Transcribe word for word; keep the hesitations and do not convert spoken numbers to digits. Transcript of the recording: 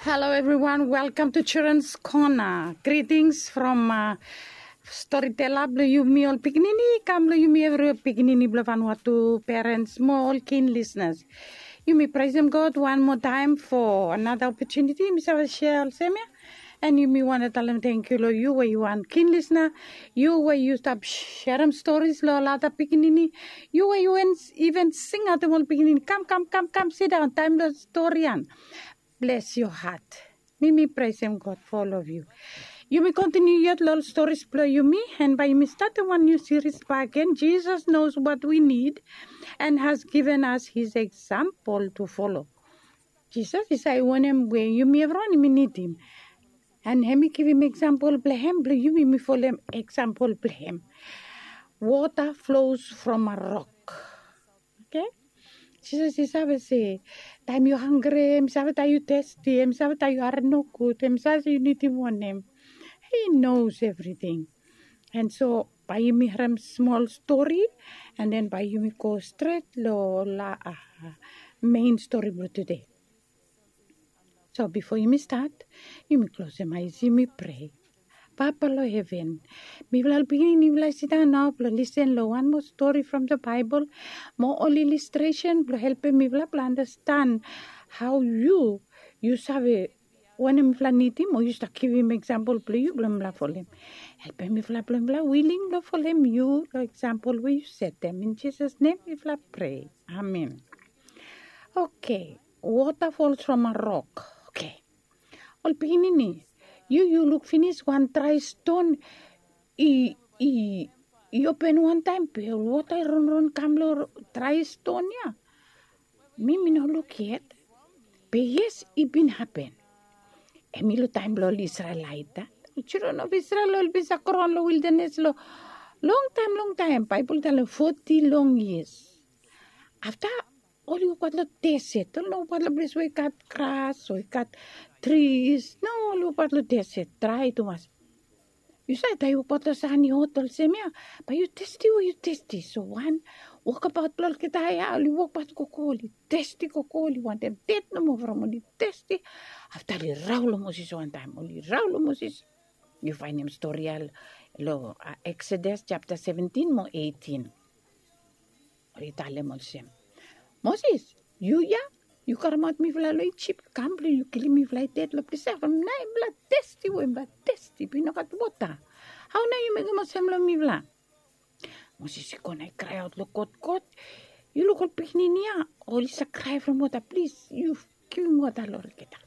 Hello everyone, welcome to Children's Corner. Greetings from uh, storyteller blong yumi ol pikinini, kam long yumi evri pikinini blong Vanuatu, parents mo ol keen listeners. Yumi praisem God wan moa taem for another opportunity. Mi save share olsem ia. And yumi wantem talem tangkiu long yu we yu wan keen listener, yu we yu stap sharem stories long ol ada pikinini, yu we yu even singaotem ol pikinini, kam kam kam kam sidaon, taem blong stori ia. Bless your heart. Mi mi praisem God for all of you. Yumi kontiniu yet long ol stories blong yumi, and bae yumi statem wan niu series bakegen. Jesus knows what we need and has given us his example to follow. Jisas i save wanem we yumi evriwan yumi nidim. And hem i givim example blong hem blong yumi mi folem example blong hem. Water flows from a rock. Okay? Jisas i save se, taem yu hangre, hem i save taem yu testi, hem i save taem yu harem nogud, hem i save se yu nidim wanem. He knows everything. And so bae yumi harem smol stori, and then bae yumi go stret long la uh, main stori blong tude. So bifo yumi stat, yumi klosem ae, yumi prea. Papa long heven, mifala ol pikinini mifala i sidaon nao blong lisen long wan moa stori from the Bible, mo ol illustration blong helpem mifala blong andastan hao yu, yu save wanem mifala nidim, o yu stap givim example blong yu blong mifala folem. Helpem mifala blong mifala wiling blong folem yu long example we yu setem. In Jisas nem mifala prea. Amen. Okay. Water falls from a rock. Okay. Ol pikinini, yu yu luk finis wan drae ston i i i open wantaem, be ol wota i ronron kam long drae ston ia. Mi mi no luk yet. Be yes, i bin hapen. Hem i long taem blong ol Isrelaet. Children of Israel oli bin save graon long wildanes long longtaem longtaem. Baebol i talem foti long yias. Afta oli wokbaot long deset. Oli no wokbaot long ples we i gat gras o i gat tris. No, oli wokbaot long deset, drae tumas. Yu save taem yu wokbaot long san i hot olsem ia, bae yu testi we yu testi. So wan wokabaot blong olgeta ia, oli wokbaot gogo, oli testi gogo, oli wantem ded nomo from oli testi. Afta oli rao long Moses wantaem, oli rao long Moses. Yu faenem stori ia long Exodus japta seventin mo eitin. Oli talem olsem, Moses, yu ia, yu karemaot mifala long Ijip kam blong yu kilim mifala i ded long ples ia from nae mifala testi we mifala testi be i no gat wota. Hao nao yu mekem olsem long mifala? Moses i go na i kraeaot long God, God, yu luk ol pikinini ia, oli save krae from wota, plis yu givim wota long olgeta.